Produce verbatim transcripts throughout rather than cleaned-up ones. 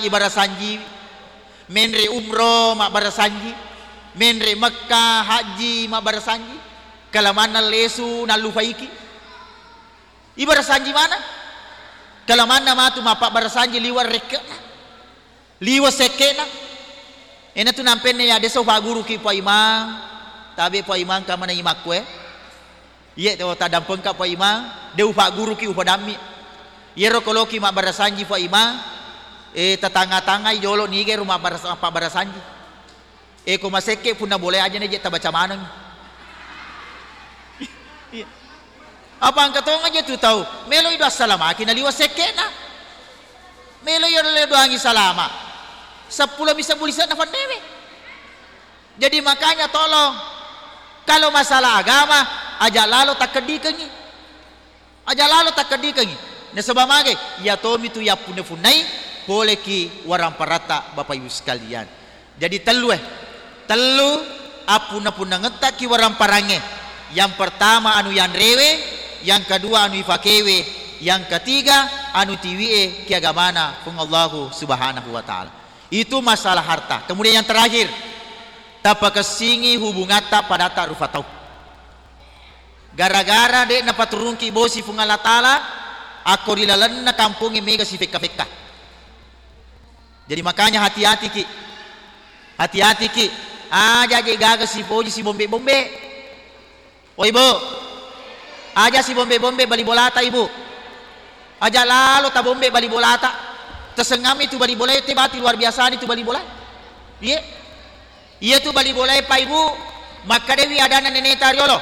ibarasanji, menre umroh mabbarasanji, menre Mekka hajji mabbarasanji, kalamanna lesu nallufaiki. Ibarasanji mana? Kalamanna matu mappabbarasanji liwa rekke'na. Liwa sekke'na. Enatu nampenne ya desa ufagguruki Pak Imang. Tabe Pak Imang kamana imakku e. Iye to tadampengka Pak Imang, de ufagguruki upadammi. Yero koloki mabbarasanji Pak Imang, eh, tatanga-tangai jolo nige ru mabbaras-, mabbarasanji. Eko masekke punna bolae aja neje tabaca maneng. Iya. Apa engka tong aja tu tau, melo ido assalamaki naliwa sekke'na. Melo iya le doangi salama. Seppulo misa bulise'na fannewe. Jadi makanya tolong, kalau masalah agama, aja lalo takkeddikengi. Aja lalo takkeddikengi. Nasaba mage, iya tomi tu yappunna-punnai poleki waramparatta Bapak Ibu sekalian. Jadi tellu e, tellu appunna-punnangetta ki waramparangnge. Yang pertama anu yanrewe, yang kedua anu ifakewe, yang ketiga anu tiwie ki agamana Puang Allahu Subhanahu wa Ta'ala. Itu masalah harta. Kemudian yang terakhir, tapakessingi hubungatta padatta rufa tau. Gara-gara de' napaturungki bosi Puang Allah Ta'ala, akko ri lalenna kampongnge mega sifekka-fekka. Jadi makanya hati-hatiki. Hati-hatiki. Aja je gaga sipoji sibombe-bombe. Oi, Bu. Aja sibombe-bombe bali bolata, Ibu. Aja lalo tabombe bali bolata. Tasengngami tu bali bolae, te bati luar biasa ni tu bali bolae. Iye. Iya tu bali bolae, Pak Ibu. Makkadewi adana neneta riolo.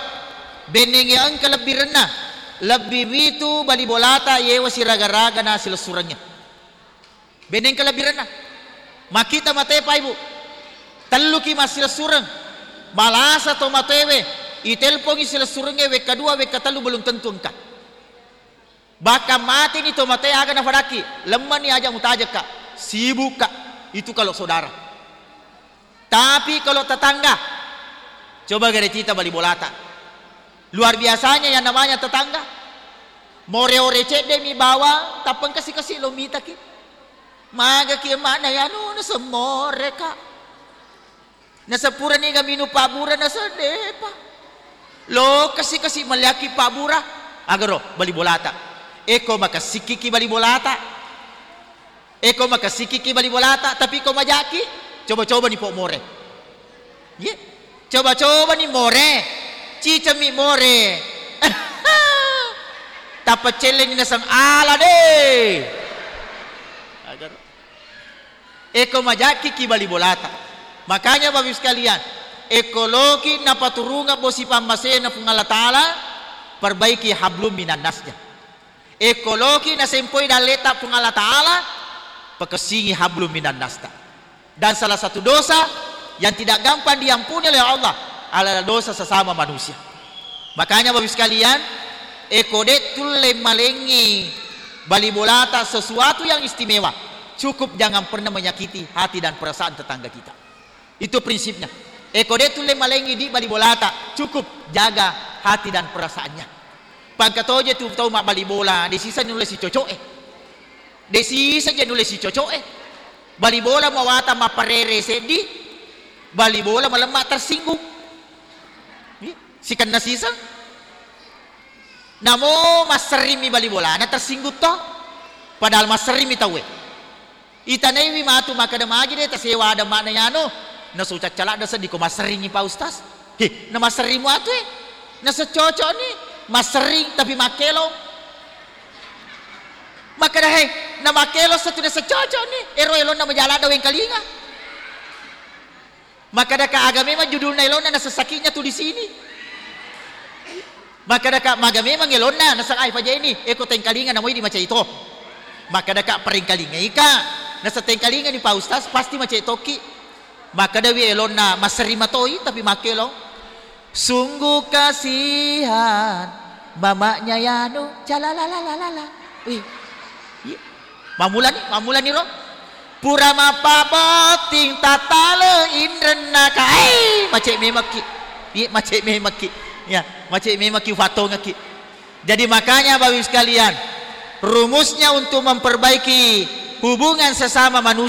Bennengnge engka lebbirenna. Lebbi witu bali bolata yewa siraga-raga na silessurengnge. Benneng kelebbirenna. Makkita matoe, Pak Ibu. Telluki massilessureng. Malasa to matoewe. Itelpongi silessurengnge wekka dua, wekka tellu belum tentu engka. Bahkan mateni to matoe aga nafadakki. Lemmani aja mutajekka. Sibukka. Itu kalau saudara. Tapi kalau tetangga, coba gare cita bali bolata. Luar biasanya yang namanya tetangga. More-ore cedde mi bawang, tappeng kasi-kasi lo mitaki. Magaki emakna yanu nasemmore ka. Nasepurani ga minum pabura nasedde pa. Lo kasi-kasi meliaki pabura. Agaro bali bolata. Eko makassikiki bali bolata. Eko makassikiki bali bolata, tapi ko majaki, coba-coba ni po more. Ye, coba-coba ni more. Cicemi more. Tappa celleni naseng ala de. Agar. Eko majaki ki bali bolata. Makanya Bapak Ibu sekalian, eko loki napaturunga bosi pammasena Puang Allah Ta'ala, perbaiki hablum minan nasnya. Ekoloki nasempoi dalleta Puang Allah Ta'ala, pakessingi hablum minan nasta. Dan salah satu dosa yang tidak gampang diampuni oleh Allah adalah dosa sesama manusia. Makanya Bapak Ibu sekalian, eko de tulle malengi bali bolata sesuatu yang istimewa, cukup jangan pernah menyakiti hati dan perasaan tetangga kita. Itu prinsipnya. Eko de tulle malengi di bali bolata, cukup jaga hati dan perasaannya. Pangka toje tu tau mabbali bola, de sisa nulle sicoco'e. De sisa je nulle sicoco'e. Bali bola mawata mapparere seddi, bali bola malemma tersinggung. Ih, sikenna sisa. Namo masserrimi bali bolana tersinggung to. Padahal masserrimi tauwe. Itanaiwi matu makkeda, magi de tasewa ada makna yanu. Nasu caccaladda seddi ko masserringi Pak Ustaz. He, na masserrimu atu e. Naseng cocokni, masserring tapi makkelong. Makkeda, he, na makkelong satu naseng cocokni. Ero elonna majaladda wengkalinga. Makkadaka aga memang judulna elonna nasessakiknya tu di sini. Makkadaka maga memang elonna naseng ai pajaini, eko tengkalinga namoi di macai to. Makkadaka parengkalingaika, naseng tengkalingani Pak Ustaz pasti macai tokki. Makkadawi elonna masserri matoi tapi makkelong. Sungguh kasihan mamanya yanu, jalalalalala. Wih. Iya. Mammulani, mammulani ro. Pura mappabotting tattale inrenna ka. Ai, macet memekki. Iya, macet memekki. Ya, macet memekki ufattongekki. Jadi makanya Bapak Ibu sekalian, rumusnya untuk memperbaiki hubungan sesama manusia